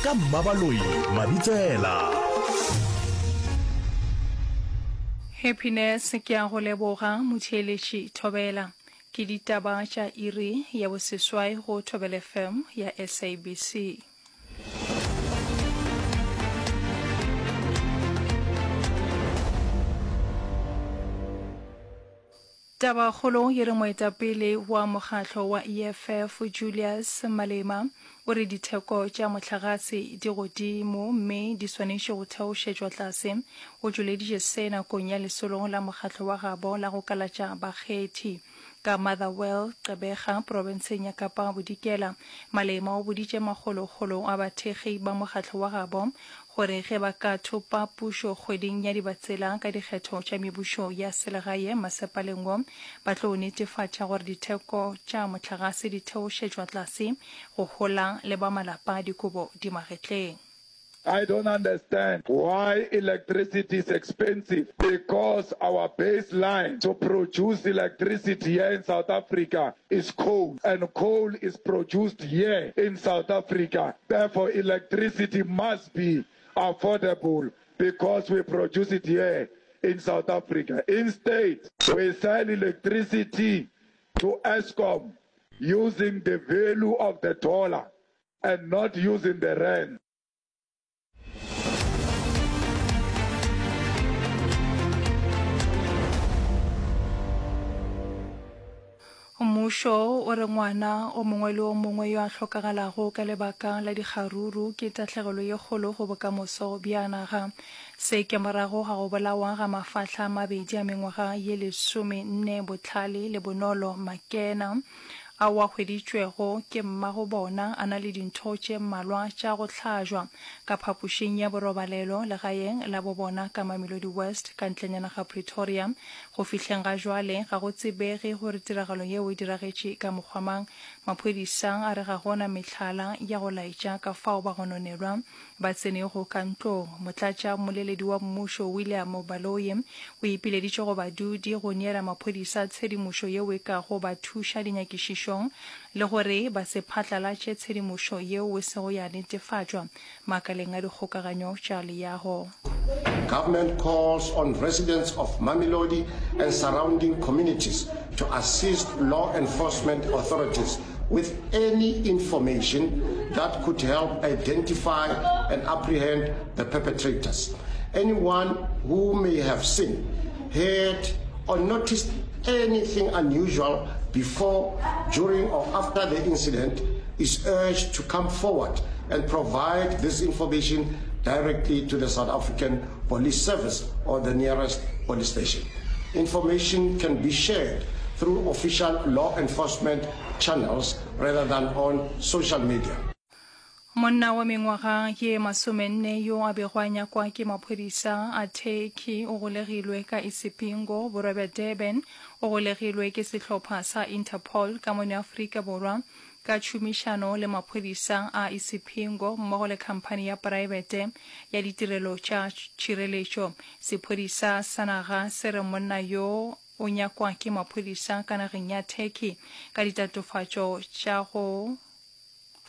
Ka Mmabaloi Mabitsela. Happiness ke a go leboga motheeletši Thobela. Ke ditaba tša iri ya boseswai go Thobela FM ya SABC. Tabakgolo e re moetapele wa mokgatlo wa EFF Julius Malema o re ditheko tša mohlagase di godimo mme di swanetše go theošetšwa tlase. O tšweleditše se nakong ya lesolo la mokgatlo wa gabo la go kalatša bakgethi ka Motherwell, Gqeberha, profenseng ya Kapa Bodikela. Malema o boditše makgolokgolo a bathekgi ba mokgatlo wa gabo gore ge ba ka thopa pušo kgweding ya Dibatsela ka dikgetho tša mebušo ya selegae masepaleng wo, ba tlo netefatša gore ditheko tša mohlagase di theošetšwa tlase go hola le ba malapa dikobo di magetleng. I don't understand why electricity is expensive because our baseline to produce electricity here in South Africa is coal and coal is produced here in South Africa therefore electricity must be affordable because we produce it here in South Africa. Instead, we sell electricity to Eskom using the value of the dollar and not using the rand. Mmušo o re ngwana o mongwe le o mongwe yo a hlokagalago ka lebaka la dikgaruru ke tahlegelo ye kgolo go bokamoso bja naga. Se ke morago ga go bolawa ga mafahla a mabedi a mengwaga ye lesomenne Bohlale le Bonolo Makena ao a hweditšwego ke mmago bona a na le dintho tše mmalwa tša go hlajwa ka phapošing ya borobalelo legaeng la bo bona ka Mamelodi West ka ntlenyana ga Pretoria. Go fihleng ga jwale ga go tsebege gore tiragalo yeo e diragetše ka mokgwa mang. Maphodisa a re ga go na mehlala ya go laetša ka fao bagononelwa ba tsenego ka ntlong. Motlatša mmoleledi wa mmušo William Baloyi o ipileditše go badudi go neela maphodisa tshedimošo yeo e kago ba thuša dinyakišišong le gore ba se phatlalatše tshedimošo yeo e sego ya netefatšwa makaleng a dikgokaganyo tša leago. Government calls on residents of Mamelodi and surrounding communities to assist law enforcement authorities with any information that could help identify and apprehend the perpetrators. Anyone who may have seen, heard, or noticed anything unusual before, during, or after the incident is urged to come forward and provide this information directly to the South African Police Service or the nearest police station. Information can be shared through official law enforcement channels rather than on social media. Monna wa mengwaga ye masomenne yo a bego a nyakwa ke maphodisa a Turkey o golegilwe ka Isipingo, borwa bja Durban. O golegilwe ke sehlopha sa Interpol ka mono Afrika Borwa ka tšhomišano le maphodisa a Isipingo mmogo le khamphani ya praebete ya ditirelo tša tšhireletšo. Sephodisa sa naga se re monna yo o nyakwa ke maphodisa ka nageng ya Turkey ka ditatofatšo tša go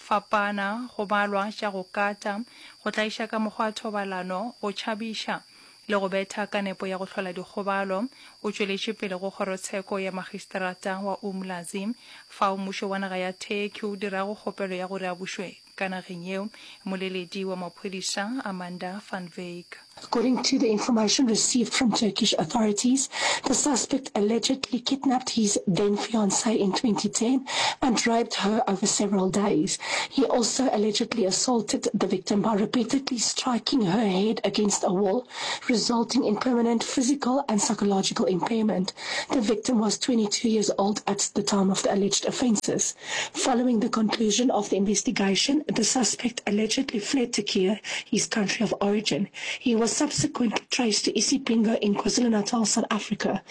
fapana, go balwa tša go kata, go tlaiša ka mokgwa wa thobalano, go tšhabiša le go betha ka nepo ya go hlola dikgobalo. O tšweletše pele go kgorotsheko ya magistrata wa Umlazi, fao mmušo wa naga ya Turkey o dirago kgopelo ya gore a bušwe ka nageng yeo. Mmoleledi wa maphodisa Amanda van Wyk. According to the information received from Turkish authorities, the suspect allegedly kidnapped his then fiancée in 2010 and raped her over several days. He also allegedly assaulted the victim by repeatedly striking her head against a wall, resulting in permanent physical and psychological impairment. The victim was 22 years old at the time of the alleged offenses. Following the conclusion of the investigation, the suspect allegedly fled Turkey, his country of origin. He was subsequently traced to Isipingo in KwaZulu-Natal, South Africa.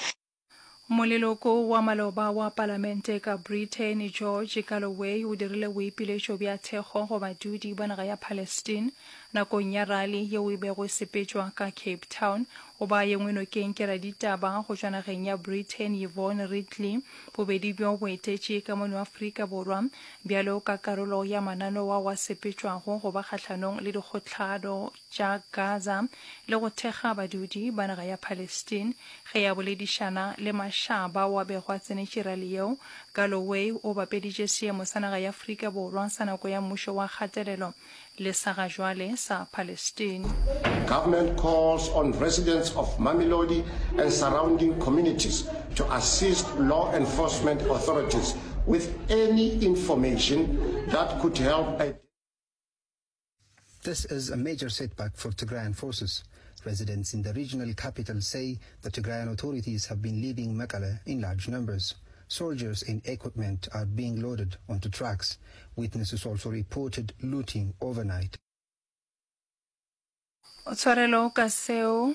Moleloko wa maloba wa palamente ka Britain George Galloway o dirile boipiletšo bja thekgo go badudi ba naga ya Palestine nakong ya rali yeo e bego e sepetšwa ka Cape Town. O ba yengwe nokeng ke raditaba go tšwa nageng ya Britain Yvonne Ridley. Bobedi bjo bo etetše ka mono Afrika Borwa bjalo ka karolo ya mananeo ao a sepetšwago go ba kgahlanong le dikgohlano tša Gaza le go thekga badudi ba naga ya Palestine. Ge a boledišana le mašaba ao a bego a tsenetše rali yeo, Galloway o bapeditše seemo sa naga ya Afrika Borwa sa nako ya mmušo wa kgatelelo le sa ga jwale sa Palestine. Government calls on residents of Mamelodi and surrounding communities to assist law enforcement authorities with any information that could help This is a major setback for Tigrayan forces. Residents in the regional capital say the Tigrayan authorities have been leaving Mekelle in large numbers. Soldiers and equipment are being loaded onto trucks. Witnesses also reported looting overnight. Tshwarelo ka seo.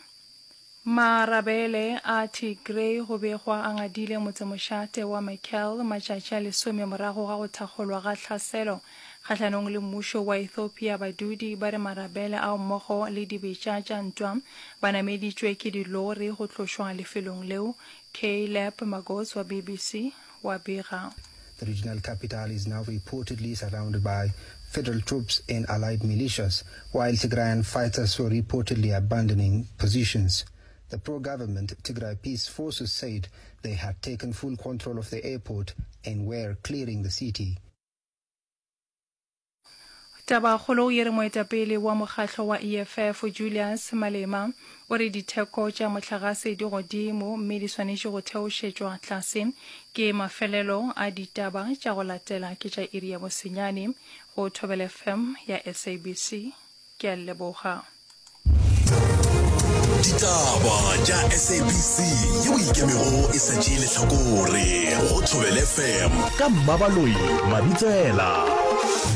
Marabele a Tigray go begwa a ngadile motsemošate wa Mekelle matšatši a lesome morago ga go thakgolwa ga tlhaselo kgahlanong le mmušo wa Ethiopia. Badudi ba re marabele ao mmogo le dibetša tša ntwa ba nameditšwe ke dilori go tlošwa lefelong leo. Caleb Magos wa BBC wa bega. The regional capital is now reportedly surrounded by federal troops and allied militias, while Tigrayan fighters were reportedly abandoning positions. The pro-government Tigray Peace Forces said they had taken full control of the airport and were clearing the city. Tabakgolo ye re moetapele wa mokgahlo wa EFF Julius Malema o re ditheko tša mohlagase di godimo mme di swanetše go theošetšwa tlase. Ke mafelelo a ditaba tša go latela ke tša iri ya bosenyane go Thobela FM ya SABC. Ke a le leboga. Ditaba tša SABC yeo e ikemego e sa tšee lehlakore go Thobela FM ka Mmabaloi Mabitsela.